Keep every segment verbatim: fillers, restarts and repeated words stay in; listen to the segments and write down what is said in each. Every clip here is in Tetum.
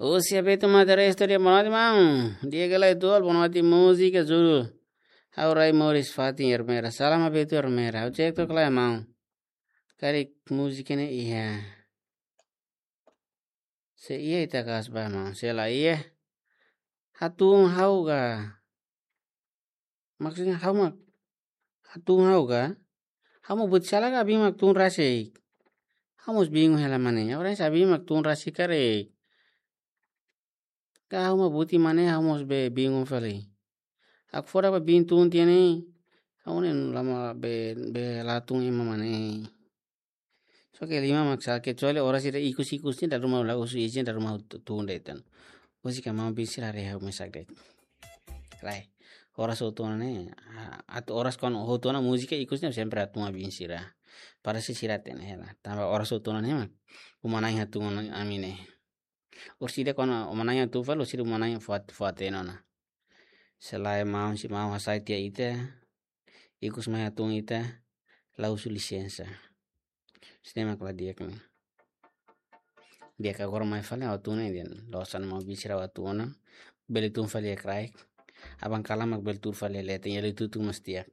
Husi Abeto Madeira Studio, boa noite, maun. Di'ak ka lae, tual, boa noite, múzika judul Ha'u Rai Moris Fatin, Ermera. Salam Abeto, Ermera. Ha'u cek tok lae, maun. Karik múzika ne'e iha. Se iha ita kaas ba, maun. Se la iha, hatún ha'u ka. Maksudnya ha'u mak hatún ha'u ka? Ha'u mak buti sala ka, abin mak tun rasik? Ha'u mós bingung hela mane. Agora se abin mak tun rasik karik, ka ha'u mak buti mane, ha'u mós be bingung fali. Hakfodak ba bin tun tiha ne'e, ha'u ne'e lama be, be la tun ema mane. Só ke liman mak sala, kecuali oras ida ikus-ikus ne'e dala ruma la husu izin, dala ruma tu-, tun de'it ona. Husi ka maun bin sira haree ha'u mesak de'it. Lae, oras hotu ona ne'e, a-, atu oras kuandu hotu ona múzika ikus ne'e sempre hatún ba bin sira. Para se sira hatene hela. Tanba oras hotu ona ne'e mak uma-na'in hatún ona ami ne'e. Orsida kuandu uma-na'in hatún fali, orsida uma-na'in fó hat-, fó hatene ona. Se lae maun, se maun hasai tiha ita, ikus mai hatún ita, la husu lisensa. Sine mak la di'ak ne'e. Di'ak agora mai fali ha'u hatún ne'e dehan. Loos ona maun bin sira, ha'u hatún ona. Bele tun fali iha kraik. Aban kalan mak bele tuur fali iha leten, iha liu tutu mós di'ak.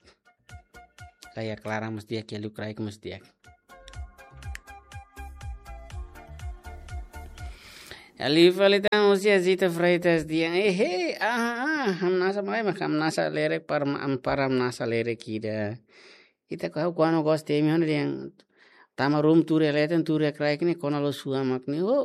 Ka iha klaran mós di'ak, iha liu kraik mós di'ak. Liu fali tan husi Zita Freitas dehan, eh, eh, ah, ah, hamnasa mai mak hamnasa lerek para ma-, am-, para hamnasa lerek ida. Ita ka ha'u kuandu gosta temi hona dehan tama ruma tuur iha leten, tuur iha kraik ne'e kona loos sua mak ne'e. Oh,